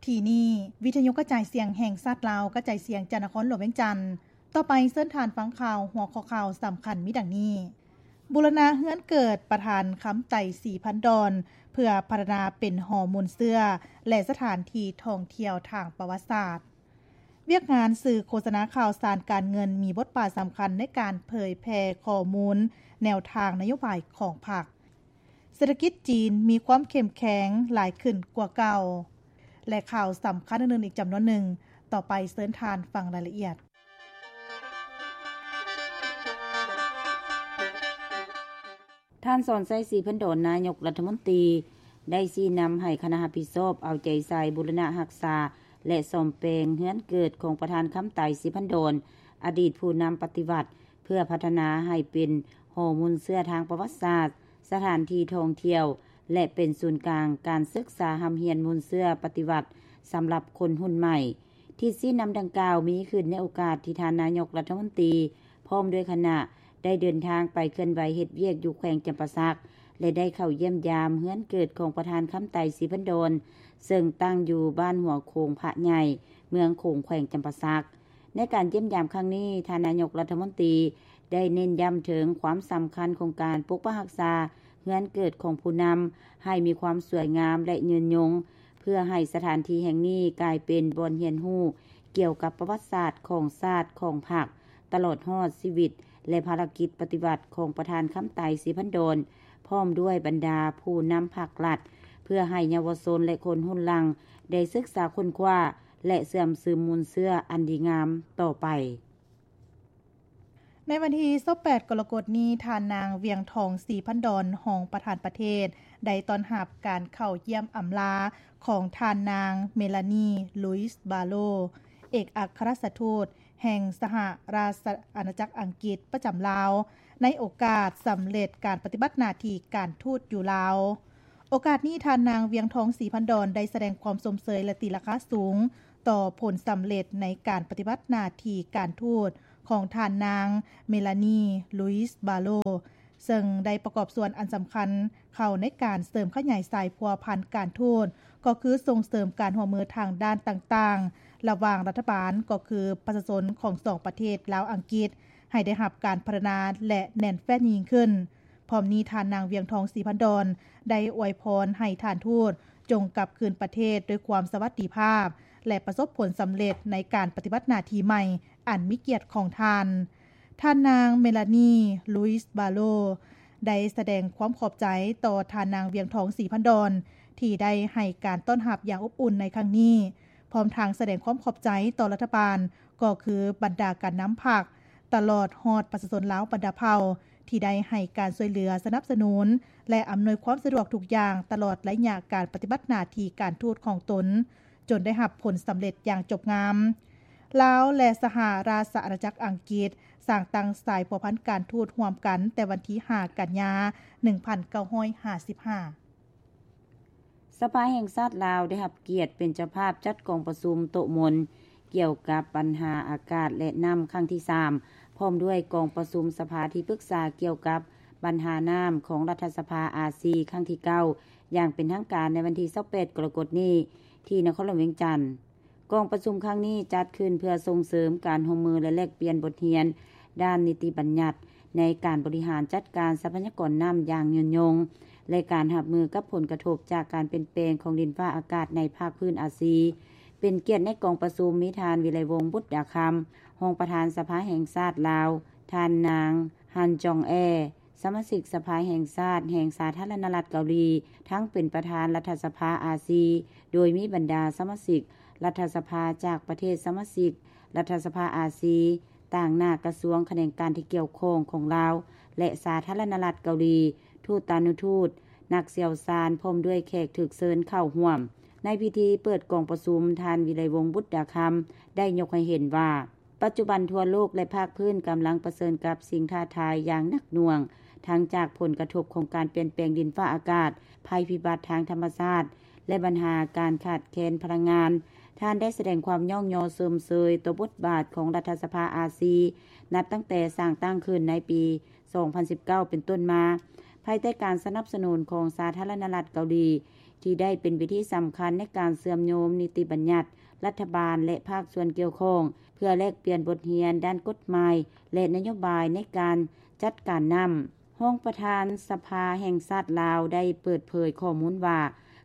ທີ່ນີ້ ວິທະຍຸກະຈາຍສຽງແຫ່ງຊາດລາວ ກະຈາຍສຽງຈາກນະຄອນຫຼວງວຽງຈັນ. ຕໍ່ໄປເຊີນທ່ານຟັງຂ່າວ ຫົວຂໍ້ຂ່າວສຳຄັນມີດັ່ງນີ້: ບູລະນະເຮືອນເກີດປະທານຄຳໄຕ ສີພັນດອນ ເພື່ອພັດທະນາເປັນຫໍມູນເຊື້ອ ແລະ ສະຖານທີ່ທ່ອງທ່ຽວທາງປະຫວັດສາດ. ວຽກງານສື່ໂຄສະນາຂ່າວສານການເງິນ ມີບົດບາດສຳຄັນໃນການເຜີຍແຜ່ຂໍ້ມູນແນວທາງນະໂຍບາຍຂອງພັກ. ເສດຖະກິດຈີນມີຄວາມເຂັ້ມແຂງຫຼາຍຂຶ້ນກວ່າເກົ່າ ແລະ ຂ່າວສຳຄັນອື່ນໆອີກຈຳນວນໜຶ່ງ. ຕໍ່ໄປເຊີນທ່ານຟັງລາຍລະອຽດ. ທ່ານ ສອນໄຊ ສີພັນດອນ ນາຍົກລັດຖະມົນຕີ ໄດ້ຊີ້ນຳໃຫ້ຄະນະຮັບຜິດຊອບເອົາໃຈໃສ່ບູລະນະຮັກສາ ແລະ ສ້ອມແປງເຮືອນເກີດຂອງປະທານຄຳໄຕ ສີພັນດອນ ອະດີດຜູ້ນຳປະຕິວັດ ເພື່ອພັດທະນາໃຫ້ເປັນຫໍມູນເຊື້ອທາງປະຫວັດສາດ, ສະຖານທີ່ທ່ອງທ່ຽວ ແລະ ເປັນສູນກາງການສຶກສາຮ່ຳຮຽນມູນເຊື້ອປະຕິວັດສຳລັບຄົນຮຸ່ນໃໝ່. ທິດຊີ້ນຳດັ່ງກ່າວມີຂຶ້ນໃນໂອກາດທີ່ທ່ານນາຍົກລັດຖະມົນຕີ ພ້ອມດ້ວຍຄະນະ ໄດ້ເດີນທາງໄປເຄື່ອນໄຫວເຮັດວຽກຢູ່ແຂວງຈຳປາສັກ ແລະ ໄດ້ເຂົ້າຢ້ຽມຢາມເຮືອນເກີດຂອງປະທານຄຳໄຕ ສີພັນດອນ ເຊິ່ງຕັ້ງຢູ່ບ້ານຫົວໂຂງພະໃຫຍ່ ເມືອງໂຂງ ແຂວງຈຳປາສັກ. ໃນການຢ້ຽມຢາມຄັ້ງນີ້, ທ່ານນາຍົກລັດຖະມົນຕີໄດ້ເນັ້ນຢ້ຳເຖິງຄວາມສຳຄັນຂອງການປົກປັກຮັກສາເຮືອນເກີດຂອງຜູ້ນຳໃຫ້ມີຄວາມສວຍງາມ ແລະ ຍືນຍົງ, ເພື່ອໃຫ້ສະຖານທີ່ແຫ່ງນີ້ກາຍເປັນບ່ອນຮຽນຮູ້ກ່ຽວກັບປະຫວັດສາດຂອງຊາດ, ຂອງພັກ, ຕະຫຼອດຮອດຊີວິດ ແລະ ພາລະກິດປະຕິວັດຂອງປະທານຄຳໄຕ ສີພັນດອນ ພ້ອມດ້ວຍບັນດາຜູ້ນຳພັກລັດ ເພື່ອໃຫ້ເຍົາວະຊົນ ແລະ ຄົນຮຸ່ນຫຼັງໄດ້ສຶກສາຄົ້ນຄວ້າ ແລະ ເຊື່ອມຊຶມມູນເຊື້ອອັນດີງາມຕໍ່ໄປ. ໃນວັນທີຊາວແປດ ກໍລະກົດນີ້, ທ່ານນາງ ວຽງທອງ ສີພັນດອນ ຮອງປະທານປະເທດ ໄດ້ຕ້ອນຮັບການເຂົ້າຢ້ຽມອຳລາຂອງທ່ານນາງ ເມລານີ ລຸຍສ໌ ບາໂລ ເອກອັກຄະລັດຖະທູດແຫ່ງສະຫະລາຊະອານາຈັກອັງກິດປະຈຳລາວ ໃນໂອກາດສຳເລັດການປະຕິບັດໜ້າທີ່ການທູດຢູ່ລາວ. ໂອກາດນີ້, ທ່ານນາງ ວຽງທອງ ສີພັນດອນ ໄດ້ສະແດງຄວາມຊົມເຊີຍ ແລະ ຕີລາຄາສູງຕໍ່ຜົນສຳເລັດໃນການປະຕິບັດໜ້າທີ່ການທູດຂອງທ່ານນາງ ເມລານີ ລຸຍສ໌ ບາໂລ ເຊິ່ງໄດ້ປະກອບສ່ວນອັນສຳຄັນເຂົ້າໃນການເສີມຂະຫຍາຍສາຍພົວພັນການທູດ, ກໍຄືສົ່ງເສີມການຮ່ວມມືທາງດ້ານຕ່າງໆ ລະຫວ່າງລັດຖະບານ, ກໍຄືປະຊາຊົນຂອງສອງປະເທດລາວ-ອັງກິດ ໃຫ້ໄດ້ຮັບການພັດທະນາ ແລະ ແໜ້ນແຟ້ນຍິ່ງຂຶ້ນ. ພ້ອມນີ້, ທ່ານນາງ ວຽງທອງ ສີພັນດອນ ໄດ້ອວຍພອນໃຫ້ທ່ານທູດຈົ່ງກັບຄືນປະເທດດ້ວຍຄວາມສະຫວັດດີພາບ ແລະ ປະສົບຜົນສຳເລັດໃນການປະຕິບັດໜ້າທີ່ໃໝ່ອັນມີກຽດຂອງທ່ານ. ທ່ານນາງ ເມລານີ ລຸຍສ໌ ບາໂລ ໄດ້ສະແດງຄວາມຂອບໃຈຕໍ່ທ່ານນາງ ວຽງທອງ ສີພັນດອນ ທີ່ໄດ້ໃຫ້ການຕ້ອນຮັບຢ່າງອົບອຸ່ນໃນຄັ້ງນີ້, ພ້ອມທັງສະແດງຄວາມຂອບໃຈຕໍ່ລັດຖະບານ, ກໍຄືບັນດາການນຳພັກ, ຕະຫຼອດຮອດປະຊາຊົນລາວບັນດາເຜົ່າ ທີ່ໄດ້ໃຫ້ການຊ່ວຍເຫຼືອສະໜັບສະໜູນ ແລະ ອຳນວຍຄວາມສະດວກທຸກຢ່າງ ຕະຫຼອດໄລຍະການປະຕິບັດໜ້າທີ່ການທູດຂອງຕົນ, ຈົນໄດ້ຮັບຜົນສຳເລັດຢ່າງຈົບງາມ. ລາວ ແລະ ສະຫະລາຊະອານາຈັກອັງກິດ ສ້າງຕັ້ງສາຍພົວພັນການທູດຮ່ວມກັນແຕ່ວັນທີຫ້າ ກັນຍາ ໜຶ່ງພັນເກົ້າຮ້ອຍຫ້າສິບຫ້າ. ສະພາແຫ່ງຊາດລາວໄດ້ຮັບກຽດເປັນເຈົ້າພາບຈັດກອງປະຊຸມໂຕະມົນກ່ຽວກັບບັນຫາອາກາດ ແລະ ນ້ຳຄັ້ງທີສາມ ພ້ອມດ້ວຍກອງປະຊຸມສະພາທີ່ປຶກສາກ່ຽວກັບບັນຫານ້ຳຂອງລັດຖະສະພາອາຊີຄັ້ງທີເກົ້າ ຢ່າງເປັນທາງການໃນວັນທີຊາວແປດ ກໍລະກົດນີ້ ທີ່ນະຄອນຫຼວງວຽງຈັນ. ກອງປະຊຸມຄັ້ງນີ້ຈັດຂຶ້ນເພື່ອສົ່ງເສີມການຮ່ວມມື ແລະ ແລກປ່ຽນບົດຮຽນດ້ານນິຕິບັນຍັດໃນການບໍລິຫານຈັດການຊັບພະຍາກອນນ້ຳຢ່າງຍືນຍົງ ແລະ ການຮັບມືກັບຜົນກະທົບຈາກການປ່ຽນແປງຂອງດິນຟ້າອາກາດໃນພາກພື້ນອາຊີ. ເປັນກຽດໃນກອງປະຊຸມມີທ່ານ ວິໄລວົງ ບຸດດາຄຳ ຮອງປະທານສະພາແຫ່ງຊາດລາວ, ທ່ານນາງ ຮັນ ຈອງແອ ສະມາຊິກສະພາແຫ່ງຊາດແຫ່ງສາທາລະນະລັດເກົາຫຼີ, ທັງເປັນປະທານລັດຖະສະພາອາຊີ, ໂດຍມີບັນດາສະມາຊິກລັດຖະສະພາຈາກປະເທດສະມາຊິກລັດຖະສະພາອາຊີ, ຕາງໜ້າກະຊວງຂະແໜງການທີ່ກ່ຽວຂ້ອງຂອງລາວ ແລະ ສາທາລະນະລັດເກົາຫຼີ, ທູດຕານຸທູດ, ນັກຊ່ຽວຊານ, ພ້ອມດ້ວຍແຂກຖືກເຊີນເຂົ້າຮ່ວມ. ໃນພິທີເປີດກອງປະຊຸມ, ທ່ານ ວິໄລວົງ ບຸດດາຄຳ ໄດ້ຍົກໃຫ້ເຫັນວ່າ, ປັດຈຸບັນທົ່ວໂລກ ແລະ ພາກພື້ນກຳລັງປະເຊີນກັບສິ່ງທ້າທາຍຢ່າງໜັກໜ່ວງ, ທັງຈາກຜົນກະທົບຂອງການປ່ຽນແປງດິນຟ້າອາກາດ, ໄພພິບັດທາງທຳມະຊາດ ແລະ ບັນຫາການຂາດແຄນພະລັງງານ. ທ່ານໄດ້ສະແດງຄວາມຍ້ອງຍໍຊົມເຊີຍຕໍ່ບົດບາດຂອງລັດຖະສະພາອາຊີ, ນັບຕັ້ງແຕ່ສ້າງຕັ້ງຂຶ້ນໃນປີສອງພັນສິບເກົ້າເປັນຕົ້ນມາ, ພາຍໃຕ້ການສະໜັບສະໜູນຂອງສາທາລະນະລັດເກົາຫຼີ, ທີ່ໄດ້ເປັນເວທີສຳຄັນໃນການເຊື່ອມໂຍງນິຕິບັນຍັດລັດຖະບານ ແລະ ພາກສ່ວນກ່ຽວຂ້ອງ ເພື່ອແລກປ່ຽນບົດຮຽນດ້ານກົດໝາຍ ແລະ ນະໂຍບາຍໃນການຈັດການນ້ຳ. ຮອງປະທານສະພາແຫ່ງຊາດລາວໄດ້ເປີດເຜີຍຂໍ້ມູນວ່າ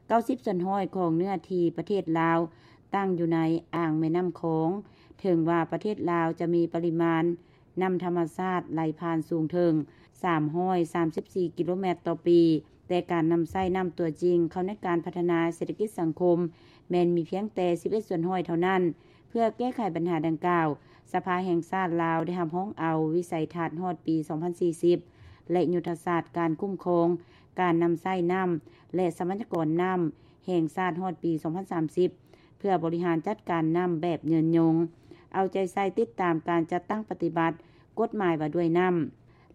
ເກົ້າສິບສ່ວນຮ້ອຍຂອງເນື້ອທີ່ປະເທດລາວຕັ້ງຢູ່ໃນອ່າງແມ່ນ້ຳຂອງ. ເຖິງວ່າປະເທດລາວຈະມີປະລິມານ ນ້ຳທຳມະຊາດໄຫຼຜ່ານສູງເຖິງສາມຮ້ອຍສາມສິບສີ່ກິໂລແມັດຕໍ່ປີ, ແຕ່ການນຳໃຊ້ນ້ຳຕົວຈິງເຂົ້າໃນການພັດທະນາເສດຖະກິດສັງຄົມແມ່ນມີພຽງແຕ່ສິບເອັດສ່ວນຮ້ອຍເທົ່ານັ້ນ. ເພື່ອແກ້ໄຂບັນຫາດັ່ງກ່າວ, ສະພາແຫ່ງຊາດລາວໄດ້ຮັບຮອງເອົາວິໄສທັດຮອດປີສອງພັນສີ່ສິບ ແລະ ຍຸດທະສາດການຄຸ້ມຄອງການນຳໃຊ້ນ້ຳ ແລະ ຊັບພະຍາກອນນ້ຳແຫ່ງຊາດຮອດປີສອງພັນສາມສິບ ເພື່ອບໍລິຫານຈັດການນ້ຳແບບຍືນຍົງ, ເອົາໃຈໃສ່ຕິດຕາມການຈັດຕັ້ງປະຕິບັດກົດໝາຍວ່າດ້ວຍນ້ຳ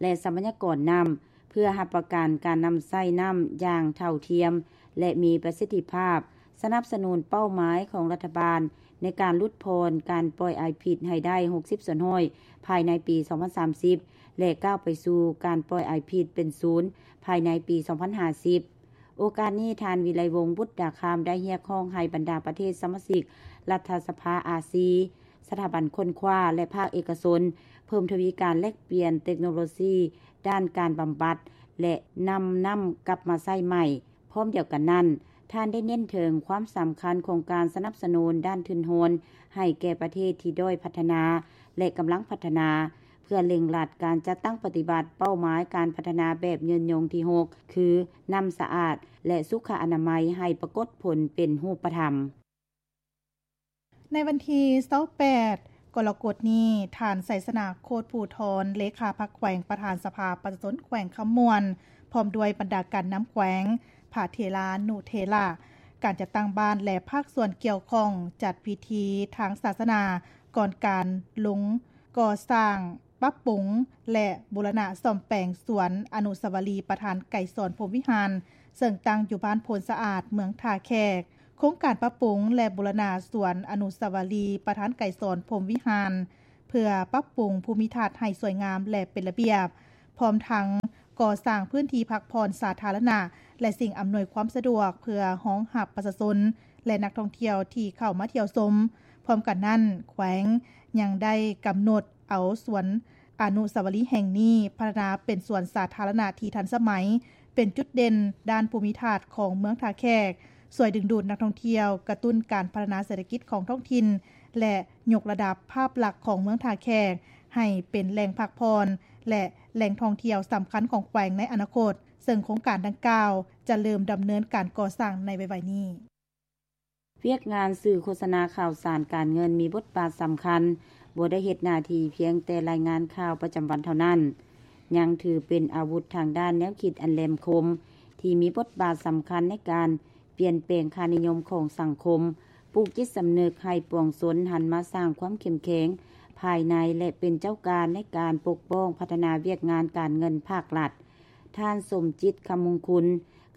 ແລະ ຊັບພະຍາກອນນ້ຳ ເພື່ອຮັບປະກັນການນຳໃຊ້ນ້ຳຢ່າງເທົ່າທຽມ ແລະ ມີປະສິດທິພາບ, ສະໜັບສະໜູນເປົ້າໝາຍຂອງລັດຖະບານໃນການຫຼຸດຜ່ອນການປ່ອຍອາຍພິດໃຫ້ໄດ້ຫົກສິບສ່ວນຮ້ອຍພາຍໃນປີສອງພັນສາມສິບ ແລະ ກ້າວໄປສູ່ການປ່ອຍອາຍພິດເປັນສູນພາຍໃນປີສອງພັນຫ້າສິບ. ໂອກາດນີ້ ທ່ານ ວິໄລວົງ ບຸດດາຄຳ ໄດ້ຮຽກຮ້ອງໃຫ້ບັນດາປະເທດສະມາຊິກລັດຖະສະພາອາຊີ ສະຖາບັນຄົ້ນຄວ້າ ແລະ ພາກເອກະຊົນ ເພີ່ມທະວີການແລກປ່ຽນເຕັກໂນໂລຊີດ້ານການບຳບັດ ແລະ ນຳນ້ຳກັບມາໃຊ້ໃໝ່. ພ້ອມດຽວກັນນັ້ນ, ທ່ານໄດ້ເນັ້ນເຖິງຄວາມສຳຄັນຂອງການສະໜັບສະໜູນດ້ານທຶນຮອນໃຫ້ແກ່ປະເທດທີ່ດ້ອຍພັດທະນາ ແລະ ກຳລັງພັດທະນາ ເພື່ອເລັ່ງລັດການຈັດຕັ້ງປະຕິບັດເປົ້າໝາຍການພັດທະນາແບບຍືນຍົງທີຫົກ ຄື ນ້ຳສະອາດ ແລະ ສຸຂະອະນາໄມ ໃຫ້ປາກົດຜົນເປັນຮູບປະທຳ. ໃນວັນທີຊາວແປດ ກໍລະກົດນີ້, ທ່ານ ໄຊຊະນະ ໂຄດພູທອນ ເລຂາພັກແຂວງ, ປະທານສະພາປະຊາຊົນແຂວງຄຳມ່ວນ ພ້ອມດ້ວຍບັນດາການນຳແຂວງ, ພະເຖລານຸເຖລະ, ການຈັດຕັ້ງບ້ານ ແລະ ພາກສ່ວນກ່ຽວຂ້ອງ ຈັດພິທີທາງສາສະໜາ ກ່ອນການລົງກໍ່ສ້າງ, ປັບປຸງ ແລະ ບູລະນະສ້ອມແປງສວນອະນຸສາວະລີປະທານໄກສອນ ພົມວິຫານ ເຊິ່ງຕັ້ງຢູ່ບ້ານໂພນສະອາດ ເມືອງທ່າແຂກ. ໂຄງການປັບປຸງ ແລະ ບູລະນະສວນອະນຸສາວະລີປະທານໄກສອນ ພົມວິຫານ ເພື່ອປັບປຸງພູມິທັດໃຫ້ສວຍງາມ ແລະ ເປັນລະບຽບ, ພ້ອມທັງກໍ່ສ້າງພື້ນທີ່ພັກຜ່ອນສາທາລະນະ ແລະ ສິ່ງອຳນວຍຄວາມສະດວກ ເພື່ອຮອງຮັບປະຊາຊົນ ແລະ ນັກທ່ອງທ່ຽວທີ່ເຂົ້າມາທ່ຽວຊົມ. ພ້ອມກັນນັ້ນ, ແຂວງຍັງໄດ້ກຳນົດເອົາສວນອະນຸສາວະລີແຫ່ງນີ້ພັດທະນາເປັນສວນສາທາລະນະທີ່ທັນສະໄໝ, ເປັນຈຸດເດັ່ນດ້ານພູມິທັດຂອງເມືອງທ່າແຂກ, ຊ່ວຍດຶງດູດນັກທ່ອງທ່ຽວ, ກະຕຸ້ນການພັດທະນາເສດຖະກິດຂອງທ້ອງຖິ່ນ ແລະ ຍົກລະດັບພາບລັກຂອງເມືອງທ່າແຂກໃຫ້ເປັນແຫຼ່ງພັກຜ່ອນ ແລະ ແຫຼ່ງທ່ອງທ່ຽວສຳຄັນຂອງແຂວງໃນອະນາຄົດ, ເຊິ່ງໂຄງການດັ່ງກ່າວຈະເລີ່ມດຳເນີນການກໍ່ສ້າງໃນໄວໆນີ້. ວຽກງານສື່ໂຄສະນາຂ່າວສານການເງິນມີບົດບາດສຳຄັນ, ບໍ່ໄດ້ເຮັດໜ້າທີ່ພຽງແຕ່ລາຍງານຂ່າວປະຈຳວັນເທົ່ານັ້ນ, ຍັງຖືເປັນອາວຸດທາງດ້ານແນວຄິດອັນແຫຼມຄົມ ທີ່ມີບົດບາດສຳຄັນໃນການປ່ຽນແປງຄ່ານິຍົມຂອງສັງຄົມ, ປູກຈິດສຳນຶກໃຫ້ປວງຊົນຫັນມາສ້າງຄວາມເຂັ້ມແຂງພາຍໃນ ແລະ ເປັນເຈົ້າການໃນການປົກປ້ອງພັດທະນາວຽກງານການເງິນພາກລັດ. ທ່ານ ສົມຈິດ ຄຳມຸງຄຸນ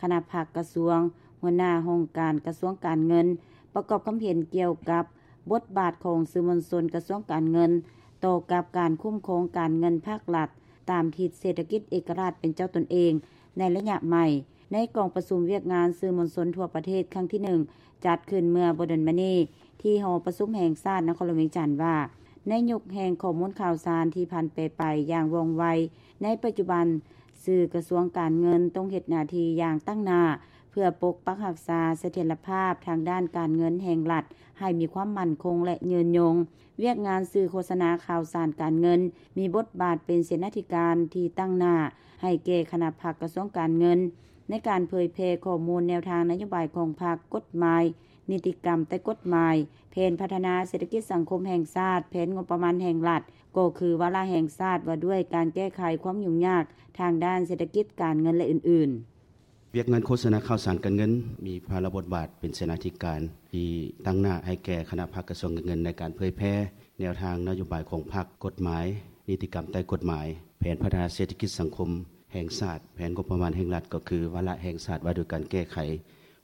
ຄະນະພັກກະຊວງ, ຫົວໜ້າຫ້ອງການກະຊວງການເງິນ ປະກອບຄຳເຫັນກ່ຽວກັບບົດບາດຂອງສື່ມວນຊົນກະຊວງການເງິນ ຕໍ່ກັບການຄຸ້ມຄອງການເງິນພາກລັດ ຕາມທິດເສດຖະກິດເອກະລາດເປັນເຈົ້າຕົນເອງໃນໄລຍະໃໝ່ ໃນກອງປະຊຸມວຽກງານສື່ມວນຊົນທົ່ວປະເທດຄັ້ງທີໜຶ່ງ ຈັດຂຶ້ນເມື່ອບໍ່ດົນມານີ້ ທີ່ຫໍປະຊຸມແຫ່ງຊາດນະຄອນຫຼວງວຽງຈັນວ່າ ໃນຍຸກແຫ່ງຂໍ້ມູນຂ່າວສານທີ່ຜັນແປໄປຢ່າງວ່ອງໄວ, ໃນປັດຈຸບັນ ສື່ກະຊວງການເງິນຕ້ອງເຮັດໜ້າທີ່ຢ່າງຕັ້ງໜ້າ ເພື່ອປົກປັກຮັກສາສະຖຽນລະພາບທາງດ້ານການເງິນແຫ່ງລັດໃຫ້ມີຄວາມໝັ້ນຄົງ ແລະ ຍືນຍົງ. ວຽກງານສື່ໂຄສະນາຂ່າວສານການເງິນ ມີບົດບາດເປັນເສນາທິການທີ່ຕັ້ງໜ້າໃຫ້ແກ່ຄະນະພັກກະຊວງການເງິນ ໃນການເຜີຍແຜ່ຂໍ້ມູນແນວທາງນະໂຍບາຍຂອງພັກ, ກົດໝາຍ, ນິຕິກຳໃຕ້ກົດໝາຍ, ແຜນພັດທະນາເສດຖະກິດສັງຄົມແຫ່ງຊາດ, ແຜນງົບປະມານແຫ່ງລັດ, ກໍຄືວາລະແຫ່ງຊາດວ່າດ້ວຍການແກ້ໄຂຄວາມຫຍຸ້ງຍາກທາງດ້ານເສດຖະກິດການເງິນ ແລະ ອື່ນໆ. ວຽກງານໂຄສະນາຂ່າວສານການເງິນມີພາລະບົດບາດເປັນເສນາທິການທີ່ຕັ້ງໜ້າໃຫ້ແກ່ຄະນະພັກກະຊວງການເງິນ ໃນການເຜີຍແຜ່ແນວທາງນະໂຍບາຍຂອງພັກ, ກົດໝາຍ, ນິຕິກຳໃຕ້ກົດໝາຍ, ແຜນພັດທະນາເສດຖະກິດສັງຄົມແຫ່ງຊາດ, ແຜນງົບປະມານແຫ່ງລັດ ກໍຄືວາລະແຫ່ງຊາດວ່າດ້ວຍການແກ້ໄຂ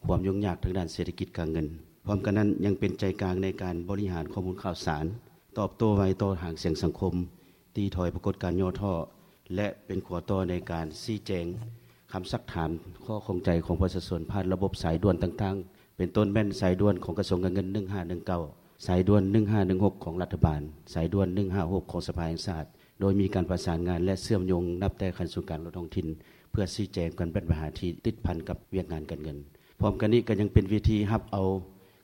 ຄວາມຫຍຸ້ງຍາກທາງດ້ານເສດຖະກິດການເງິນ. ພ້ອມກັນນັ້ນ ຍັງເປັນໃຈກາງໃນການບໍລິຫານຂໍ້ມູນຂ່າວສານ, ຕອບໂຕ້ໄວຕໍ່ຫາງສຽງສັງຄົມ, ຕີຖອຍປາກົດການຫຍໍ້ທໍ້ ແລະ ເປັນຂົວຕໍ່ໃນການຊີ້ແຈງ ຄຳຊັກຖາມ ຂໍ້ຂ້ອງໃຈຂອງປະຊາຊົນ ຜ່ານລະບົບສາຍດ່ວນຕ່າງໆ ເປັນຕົ້ນແມ່ນສາຍດ່ວນຂອງກະຊວງການເງິນ ໜຶ່ງຫ້າໜຶ່ງເກົ້າ, ສາຍດ່ວນ ໜຶ່ງຫ້າໜຶ່ງຫົກ ຂອງລັດຖະບານ, ສາຍດ່ວນ ໜຶ່ງຫ້າຫົກ ຂອງສະພາແຫ່ງຊາດ, ໂດຍມີການປະສານງານ ແລະ ເຊື່ອມໂຍງນັບແຕ່ຂັ້ນສູນກາງ ລະດັບທ້ອງຖິ່ນ ເພື່ອຊີ້ແຈງກັນບັນຫາທີ່ຕິດພັນກັບວຽກງານການເງິນ. ພ້ອມກັນນີ້ກໍຍັງເປັນເວທີຮັບເອົາ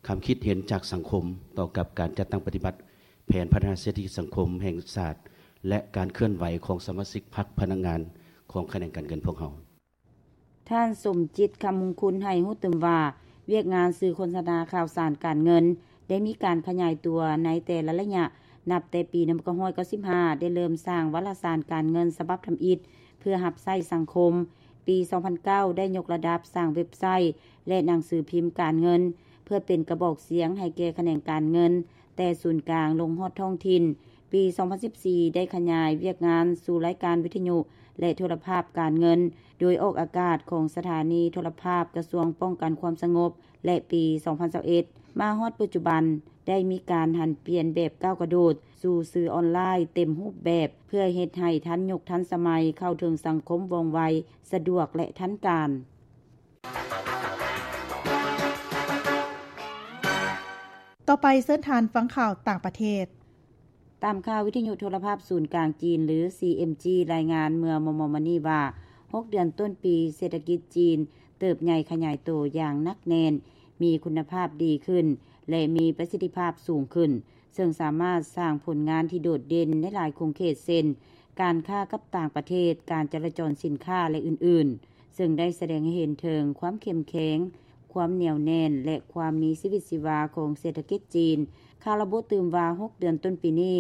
ຄຳຄິດເຫັນຈາກສັງຄົມ ຕໍ່ກັບການຈັດຕັ້ງປະຕິບັດແຜນພັດທະນາເສດຖະກິດສັງຄົມແຫ່ງຊາດ ແລະ ການເຄື່ອນໄຫວຂອງສະມາຊິກພັກພະນັກງານຂອງຂະແໜງການເງິນພວກເຮົາ. ທ່ານ ສົມຈິດ ຄຳມຸງຄຸນ ໃຫ້ຮູ້ຕື່ມວ່າ ວຽກງານສື່ໂຄສະນາຂ່າວສານການເງິນ ໄດ້ມີການຂະຫຍາຍຕົວໃນແຕ່ລະໄລຍະ ນັບແຕ່ປີໜຶ່ງພັນເກົ້າຮ້ອຍເກົ້າສິບຫ້າ ໄດ້ເລີ່ມສ້າງວາລະສານການເງິນສະບັບທຳອິດ ເພື່ອຮັບໃຊ້ສັງຄົມ. ປີສອງພັນເກົ້າ ໄດ້ຍົກລະດັບສ້າງເວັບໄຊ ແລະ ໜັງສືພິມການເງິນ ເພື່ອເປັນກະບອກສຽງໃຫ້ແກ່ຂະແໜງການເງິນ ແຕ່ສູນກາງລົງຮອດທ້ອງຖິ່ນ. ປີສອງພັນສິບສີ່ ໄດ້ຂະຫຍາຍວຽກງານສູ່ລາຍການວິທະຍຸ ແລະ ໂທລະພາບການເງິນ ໂດຍອອກອາກາດຂອງສະຖານີໂທລະພາບກະຊວງປ້ອງກັນຄວາມສະຫງົບ ແລະ ປີສອງພັນຊາວເອັດ ມາຮອດປັດຈຸບັນ ໄດ້ມີການຫັນປ່ຽນແບບກ້າວກະໂດດສູ່ສື່ອອນລາຍເຕັມຮູບແບບ ເພື່ອເຮັດໃຫ້ທັນຍຸກທັນສະໄໝ ເຂົ້າເຖິງສັງຄົມວ່ອງໄວ, ສະດວກ ແລະ ທັນການ. ຕໍ່ໄປເຊີນທ່ານຟັງຂ່າວຕ່າງປະເທດ. ຕາມຂ່າວວິທະຍຸໂທລະພາບສູນກາງຈີນ ຫຼື ຊີເອັມຈີ ລາຍງານເມື່ອມໍ່ໆມານີ້ວ່າ ຫົກເດືອນຕົ້ນປີ ເສດຖະກິດຈີນເຕີບໃຫຍ່ຂະຫຍາຍໂຕຢ່າງໜັກແໜ້ນ, ມີຄຸນນະພາບດີຂຶ້ນ ແລະ ມີປະສິດທິພາບສູງຂຶ້ນ, ເຊິ່ງສາມາດສ້າງຜົນງານທີ່ໂດດເດັ່ນໃນຫຼາຍຂົງເຂດ ເຊັ່ນ ການຄ້າກັບຕ່າງປະເທດ, ການຈະລາຈອນສິນຄ້າ ແລະ ອື່ນໆ. ເຊິ່ງໄດ້ສະແດງໃຫ້ເຫັນເຖິງຄວາມເຂັ້ມແຂງ, ຄວາມໜຽວແໜ້ນ ແລະ ຄວາມມີຊີວິດຊີວາຂອງເສດຖະກິດຈີນ. ຂ່າວລະບຸຕື່ມວ່າ ຫົກເດືອນຕົ້ນປີນີ້,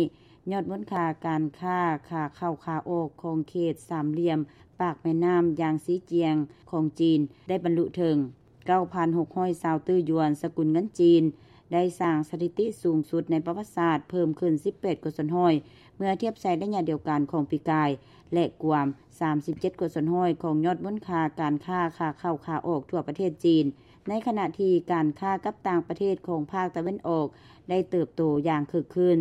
ຍອດມູນຄ່າການຄ້າຂາເຂົ້າຂາອອກຂອງເຂດສາມຫຼ່ຽມປາກແມ່ນ້ຳຢາງຊີຈຽງຂອງຈີນ ໄດ້ບັນລຸເຖິງ ເກົ້າພັນຫົກຮ້ອຍຊາວຕື້ຢວນ ສະກຸນເງິນຈີນ, ໄດ້ສ້າງສະຖິຕິສູງສຸດໃນປະຫວັດສາດ, ເພີ່ມຂຶ້ນສິບແປດກວ່າສ່ວນຮ້ອຍ ເມື່ອທຽບໃສ່ໄລຍະດຽວກັນຂອງປີກາຍ ແລະ ກວມສາມສິບເຈັດກວ່າສ່ວນຮ້ອຍຂອງຍອດມູນຄ່າການຄ້າຂາເຂົ້າຂາອອກທົ່ວປະເທດຈີນ, ໃນຂະນະທີ່ການຄ້າກັບຕ່າງປະເທດຂອງພາກຕາເວັນອອກໄດ້ເຕີບໂຕຢ່າງຄຶກຄື້ນ.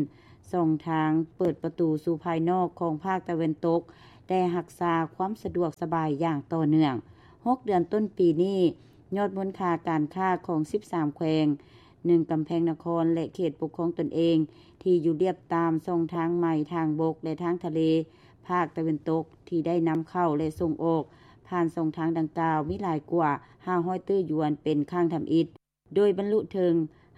ຊ່ອງທາງເປີດປະຕູສູ່ພາຍນອກຂອງພາກຕາເວັນຕົກໄດ້ຮັກສາຄວາມສະດວກສະບາຍຢ່າງຕໍ່ເນື່ອງ. ຫົກເດືອນຕົ້ນປີນີ້, ຍອດມູນຄ່າການຄ້າຂອງສິບສາມແຂວງ, ໜຶ່ງ ກຳແພງນະຄອນ ແລະ ເຂດປົກຄອງຕົນເອງ ທີ່ຢູ່ລຽບຕາມຊ່ອງທາງໃໝ່ທາງບົກ ແລະ ທາງທະເລ ພາກຕາເວັນຕົກ ທີ່ໄດ້ນຳເຂົ້າ ແລະ ສົ່ງອອກຜ່ານຊ່ອງທາງດັ່ງກ່າວ ມີຫຼາຍກວ່າຫ້າຮ້ອຍຕື້ຢວນເປັນຄັ້ງທຳອິດ, ໂດຍບັນລຸເຖິງ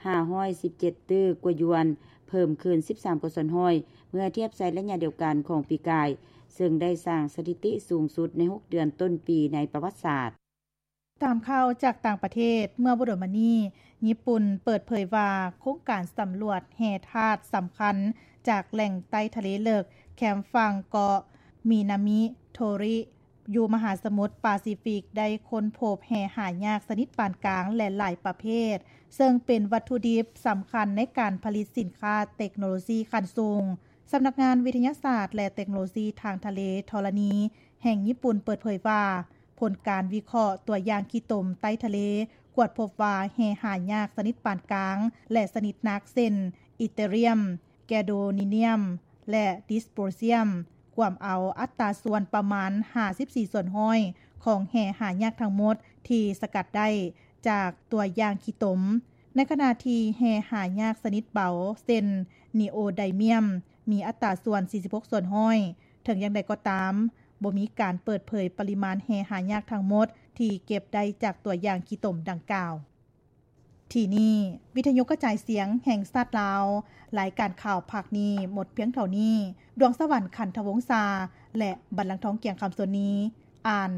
ຫ້າຮ້ອຍສິບເຈັດຕື້ກວ່າຢວນ, ເພີ່ມຂຶ້ນສິບສາມກວ່າສ່ວນຮ້ອຍ ເມື່ອທຽບໃສ່ໄລຍະດຽວກັນຂອງປີກາຍ, ເຊິ່ງໄດ້ສ້າງສະຖິຕິສູງສຸດໃນຫົກເດືອນຕົ້ນປີໃນປະຫວັດສາດ. ຕາມຂ່າວຈາກຕ່າງປະເທດ, ເມື່ອບໍ່ດົນມານີ້, ຍີ່ປຸ່ນເປີດເຜີຍວ່າ ໂຄງການສຳຫຼວດແຮ່ທາດສຳຄັນຈາກແຫຼ່ງໃຕ້ທະເລເລິກ ແຄມຝັ່ງເກາະມິນາມິໂທຣິ ຢູ່ມະຫາສະໝຸດປາຊີຟິກ ໄດ້ຄົ້ນພົບແຮ່ຫາຍາກຊະນິດປານກາງ ແລະ ຫຼາຍປະເພດ, ເຊິ່ງເປັນວັດຖຸດິບສຳຄັນໃນການຜະລິດສິນຄ້າເຕັກໂນໂລຊີຂັ້ນສູງ. ສຳນັກງານວິທະຍາສາດ ແລະ ເຕັກໂນໂລຊີທາງທະເລທໍລະນີແຫ່ງຍີ່ປຸ່ນເປີດເຜີຍວ່າ, ຜົນການວິເຄາະຕົວຢ່າງຂີ້ຕົມໃຕ້ທະເລ ກວດພົບວ່າແຮ່ຫາຍາກຊະນິດປານກາງ ແລະ ຊະນິດໜັກ ເຊັ່ນ ອີເຕຣຽມ, ແກໂດນີນຽມ ແລະ ດິສໂປຣຊຽມ ກວມເອົາອັດຕາສ່ວນປະມານຫ້າສິບສີ່ສ່ວນຮ້ອຍຂອງແຮ່ຫາຍາກທັງໝົດທີ່ສະກັດໄດ້ຈາກຕົວຢ່າງຂີ້ຕົມ, ໃນຂະນະທີ່ແຮ່ຫາຍາກຊະນິດເບົາ ເຊັ່ນ ນີໂອໄດມຽມ ມີອັດຕາສ່ວນສີ່ສິບຫົກສ່ວນຮ້ອຍ. ເຖິງຢ່າງໃດກໍຕາມ, ບໍ່ມີການເປີດເຜີຍປະລິມານແຮ່ຫາຍາກທັງໝົດທີ່ເກັບໄດ້ຈາກຕົວຢ່າງຂີ້ຕົມດັ່ງກ່າວ. ທີ່ນີ້ ວິທະຍຸກະຈາຍສຽງແຫ່ງຊາດລາວ, ລາຍການຂ່າວພາກນີ້ໝົດພຽງເທົ່ານີ້. ດວງສະຫວັນ ຂັນທະວົງຊາ ແລະ ບັນລັງທອງ ກຽງຄຳ ສ່ວນນີ້ ອ່ານ